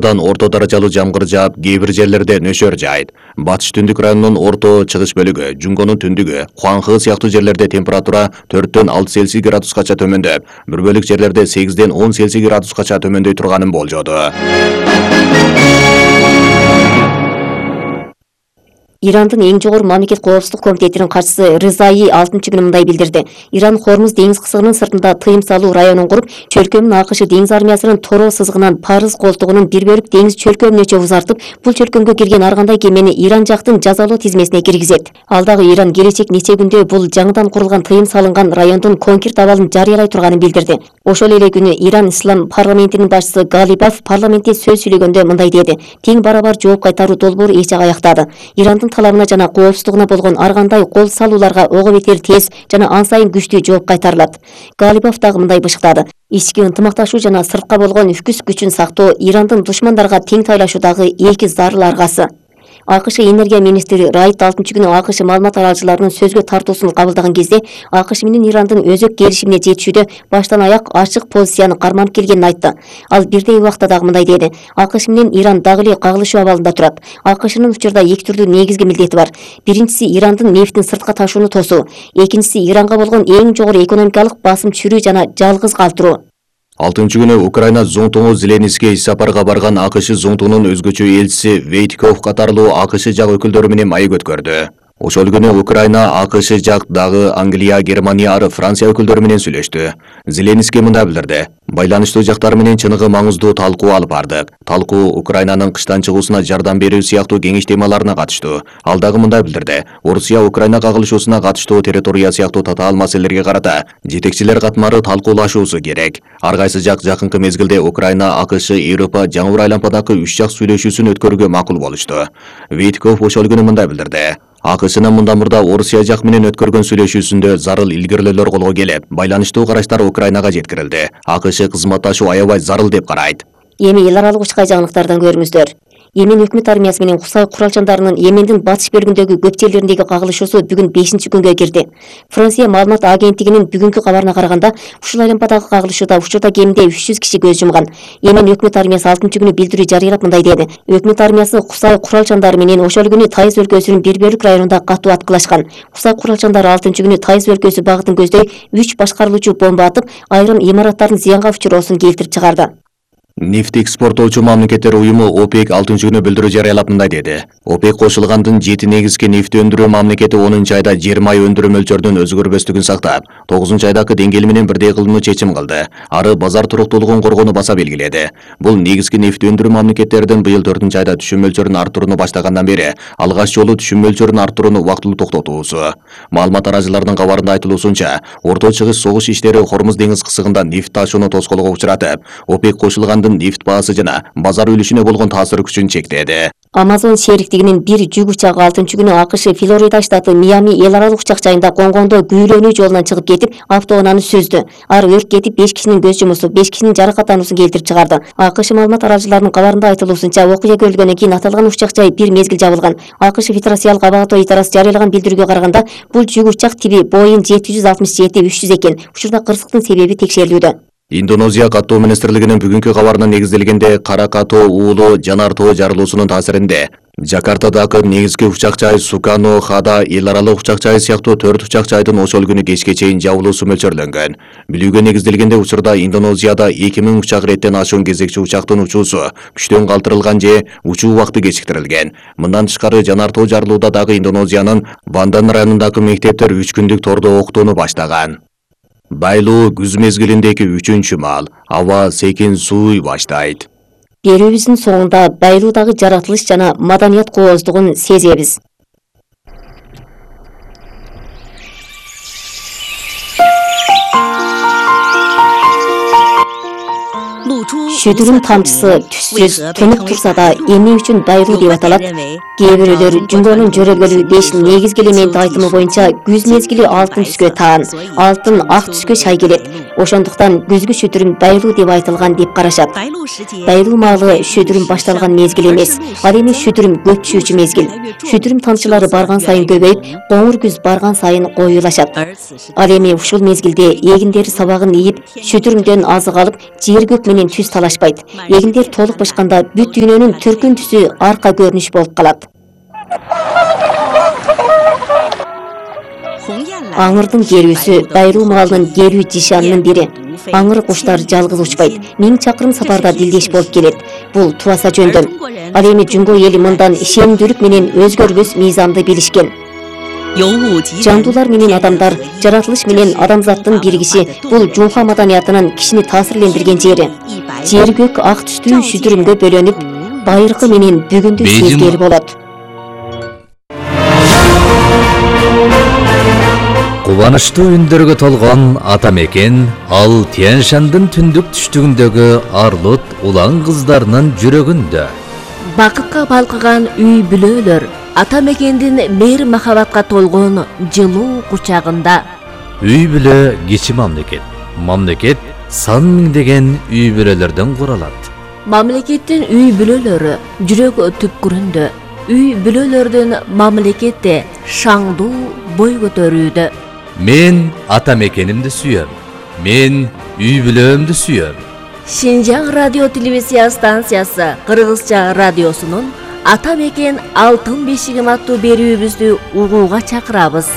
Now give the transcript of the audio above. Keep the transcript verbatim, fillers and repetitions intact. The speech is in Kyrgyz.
Орто даражалуу жамгыр жаап, кээ бир жерлерде нөшөр жаайт. Батыш түндүк районунун орто чыгыш бөлүгү, Жунгонун түндүгү, Хуанхэ сыяктуу жерлерде температура төрттөн алты Цельсий градускача төмөндөп, бир бөлүк жерлерде сегизден он Цельсий градускача төмөндөй турганын болжоду. Ирандын эң жогору мамлекет коопсуздук комитетинин катчысы Рызаи алтынчы күнү мындай билдирди. Иран Хормуз деңиз кысыгынын сыртында тыйым салуу районун куруп, чөлкөмүн АКШ деңиз армиясынын Торо сызыгынан Парыз колтугунун бир бөлүк деңиз чөлкөмүнө узартып, бул чөлкөмгө кирген ар кандай кемени Иран жактын жазалоо тизмесине киргизет. Ал дагы Иран келечек нече күндө бул жаңыдан курулган тыйым салынган райондун конкрет абалын жарыялай турганын билдирди. Ошол эле күнү Иран Ислам парламентинин башчысы Галибаф парламентте сөз сүйлөгөндө мындай деди: "Тең барабар жооп кайтаруу долбоору эч жак аяктады. Ирандын талабына жана коопсуздугуна болгон ар кандай кол салууларга ого бетер тез жана ан сайын күчтүү жооп кайтарылат." Галибов дагы мындай бышыктады: "Ички ынтымакташуу жана сыртка болгон үкүс күчүн сактоо Ирандын душмандарга тең тайлашуудагы эки зарыл аргасы." АКШ энергия министри Райт алтынчы күнү АКШ маалымат аралчыларынын сөзгө тартуусун кабылдаган кезде АКШ менен Ирандын өзөк келишимине жетишүүдө баштан аяк ачык позицияны карманып келгенин айтты. Ал бирдей убакта дагы мындай деди: "АКШ менен Иран дагы эле кагылышуу абалында турат. АКШнын учурда эки түрлүү негизги милдети бар. Биринчиси Ирандын нефтин сыртка ташууну тосуу, экинчиси Иранга болгон эң жогору экономикалык басым түшүрүү жана жалгыз калтыруу." алтынчы күнү Украина зоңтугу Зеленскийге иш сапарга барган АКШ зоңтугунун өзгөчө элчиси Вейтков катарлуу АКШ жак өкүлдөрү менен маек өткөрдү. Ошол күнү Украина, АКШ жак дагы Англия, Германия, ары Франция өкүлдөрү менен сүйлөштү. Зеленский мындай билдирди: "Байланыштуу жактар менен чыныгы маңыздуу талкуу алып бардык. Талкуу Украинанын кыштан чыгуусуна жардам берүү сыяктуу кеңеш темаларына катыштуу." Ал дагы мындай билдирди: "Орусия Украина кагылышуусуна катыштуу территория сыяктуу татаал маселелерге карата жетекчилер катмары талкуулашуусу керек. Ар кайсы жак жакынкы мезгилде Украина, АКШ, Европа жаңы айлампадагы үч жак сүйлөшүүсүн өткөрүүгө макул болушту." Вейтков ошол күнү мындай билдирди: "АКШнын мындан мурда Орусия жак менен өткөргөн сүйлөшүүсүндө зарыл илгирүүлөр колго келип, байланыштуу караштар Украинага жеткирилди. АКШ кызматташуу аябай зарыл деп карайт." Эми эл аралык учкай жаңылыктардан көрүңүздөр. Йемен өкмөт армиясы менен Кусай куралчандарынын Йемендин батыш бөлүгүндөгү көп жерлериндеги кагылышуусу бүгүн бешинчи күнгө кирди. Франция маалымат агенттигинин бүгүнкү кабарына караганда, ушул айлампадагы кагылышууда учурда кеминде үч жүз киши көз жумган. Йемен өкмөт армиясы алтынчы күнү билдирүү жарыялап мындай деди: "Өкмөт армиясы Кусай куралчандары менен ошол күнү Тайыз өлкөсүнүн бир бөлүк районунда катуу аткылашкан. Кусай куралчандары алтынчы күнү Тайыз өлкөсү багытын көздөй үч башкарылуучу бомба атып, айрым имараттардын зыянга учуроосун келтирип чыгарды." Нефт экспорттоочу мамлекеттер уюму ОПЕК алтынчы күнү билдирүү жарыялап мындай деди: "ОПЕК кошулгандын жети негизги нефт өндүрүү мамлекети онунчу айда жыйырма ай өндүрүү мөлчөрүнүн өзгөрбөстүгүн сактап, тогузунчу айдагы деңгээл менен бирдей кылууну чечим кылды. Ары базар туруктуулугун коргоону баса белгиледи. Бул негизги нефт өндүрүү мамлекеттердин быйыл төртүнчү айда түшүм мөлчөрүн арттырууну баштагандан бери алгач жолу түшүм мөлчөрүн арттырууну убактылуу токтотуусу. Маалымат арачыларынын кабарында айтылуусунча, орто чыгыш согуш иштери Хормуз деңиз кысыгында нефт ташууну тоскоолго учуратып, ОПЕК кошулгандын нефт баасы жана базар үлүшүнө болгон таасир күчүн чектеди. Amazon шериктигинин бир жүк учагы алтынчы күнү АКШ Флорида штаты Миами эл аралык учак жайында конгондо күйрөнүү жолунан чыгып кетип, автоунааны сүздү. Ар өрт кетип, беш кишинин көз жумусу, беш кишинин жаракаттануусун келтирип чыгарды. АКШ маалымат арачыларынын кабарында айтылуусунча, окуя көрүлгөндөн кийин аталган учак жай бир мезгил жабылган. АКШ Федерациялык аба катоо идарасы жарыялаган билдирүүгө караганда, бул жүк учак тиби Boeing жети жүз алтымыш жети үч жүз экен. Учурда кырсыктын себеби текшерилүүдө. Индонезия каттоо министрлигинин бүгүнкү кабарына негизделгенде Кара Катоо уулу жанар тоо жарылуусунун таасиринде Жакартадагы негизги учак жай Сукано Хада эл аралык учак жай сыяктуу төрт учак жайдын ошол күнү кечке чейин жабылуусу мөлчөрлөнгөн. Билүүгө негизделгенде учурда Индонезияда эки миң учак реттен ашуун кезекчи учактын учуусу күчтөн калтырылган же учуу убакыты кечиктирилген. Мындан тышкары жанар тоо жарылууда дагы Индонезиянын Бандан районундагы мектептер үч күндүк тордо окутууну баштаган. Байлуу күз мезгилиндеги үчүнчү маал, аба секин сууй баштайт. Берүүбүздүн соңунда байлуудагы жаратылыш жана маданият кооздугун сезебиз. Шүдүрүн тамчысы түссүз төнүп турса да эмне үчүн байлуу деп аталат? Кээ бирөөлөр Жунгонун жөрөлгөлү беш негизги элементи айтымы боюнча күз мезгили алтын түскө таан, алтын ак түскө шай келет. Ошондуктан күзгү шүдүрүн байлуу деп айтылган деп карашат. Байлуу маалы шүдүрүм башталган мезгил эмес, ал эми шүдүрүм көп түшүүчү мезгил. Шүдүрүм тамчылары барган сайын көбөйүп, коңур күз барган сайын коюлашат. Ал эми ушул мезгилде эгиндери сабагын ийип, шүдүрүмдөн азык алып, жер көк менен түз талашпайт. Эгиндер толук бышканда бүт дүйнөнүн түркүн түсү арка көрүнүш болуп калат. Аңырдын керүүсү Дайруу маалынын керүү жишанынын бири. Аңыр куштар жалгыз учпайт, миң чакырым сапарда дилдеш болуп келет. Бул тубаса жөндөм. Ал эми жунго эли мындан ишенимдүүлүк менен өзгөрбөс мыйзамды билишкен. Жандуулар менен адамдар, жаратылыш менен адамзаттын биригиши бул жунха маданиятынын кишини таасирлендирген жери. Жер көк ак түстүү шүдүрүмгө бөлөнүп, байыркы менен бүгүндү сезгели болот. Кубанычтуу үндөргө толгон ата мекен ал Тянь-Шандын түндүк түштүгүндөгү Арлут улан кыздарынын жүрөгүндө. Бакытка балкыган үй бүлөлөр ата мекендин мейир махабатка толгон жылуу кучагында. Үй бүлө кичи мамлекет. Мамлекет сан миңдеген үй бүлөлөрдөн куралат. Мамлекеттин үй бүлөлөрү жүрөк түпкүрүндө. Үй бүлөлөрдүн мамлекетте шаңдуу бой көтөрүүдө. Мен ата мекенимди сүйөм. Мен үй бүлөмдү сүйөм. Шинжаң радио телевизия станциясы Кыргызча радиосунун Ата мекен алтын бешигим аттуу берүүбүздү угууга чакырабыз.